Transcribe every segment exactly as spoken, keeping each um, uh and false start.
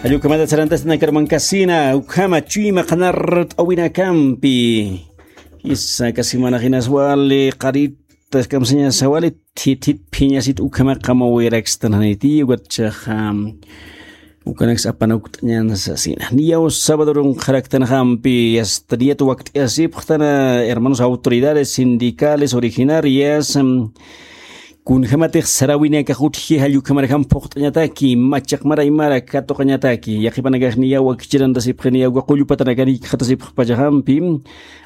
Jallukhamata sarantasna karmankasina, ukhama chuyma qanart'awinakampi. Isa kasimanaxinas wali, qaritas kamsañasa wali, thithit phiñasit ukhama qamawirakstan janiti, ukat chaxa, ukanaks apana ukt'añan sasina. Niyaw sabadurun qharaktanxampi, asta niyat wakt'ayasipxtana, hermanos autoridades sindicales originarias, mm, kunjamatix sarawinakax utji jallukhamarjam phuqt'añataki, machaq maraymara katuqañataki, yaqipanakax niyaw wakichirantasipxi, niyaw qullpatanakan ikxatasipxpachaxampi,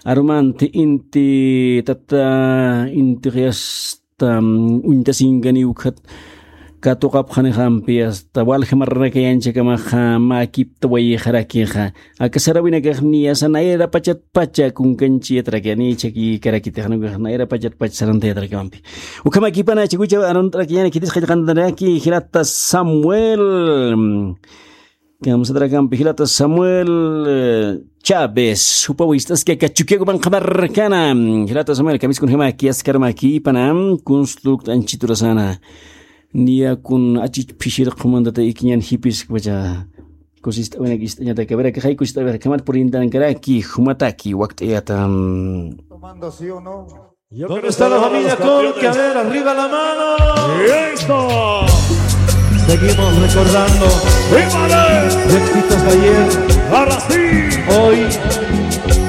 arumanti inti tata, inti qiyasta, mm, uñtasinkani ukhat katuqapxanixampi, asta walja marranakayanchakamaxa mäkipta wayixarakixa. Aka sarawinakax niyasa nayrapachatpacha kunkanchiyatarakiya, ni chakikarakitix, nukax nayrapachatpacha sarantayatarakiwampi. Ukhamakipana chikucha arunt'arakiñani khitis qillqantanaki, jilata Samuel, kamsatarakampi, jilata Samuel, eh, Chávez, jupa wist'aski aka Chukiyakupan qhamarkana, jilata Samuel, kamiskunjamaki, askarumakipana, kunstukt'anchiturasana. Niya kun achich phishir qhumantata ikiñan jipiskpacha. Kusist'awinak ist'añataki, a ver, akaxay kusist'awinak, khamat purintankaraki, jumataki, wakt'ayata. ¿Dónde está la familia Conque? A ver, arriba la mano. ¡Eso! Seguimos recordando ¡Vívale! Éxitos de ayer. Ahora sí. Hoy.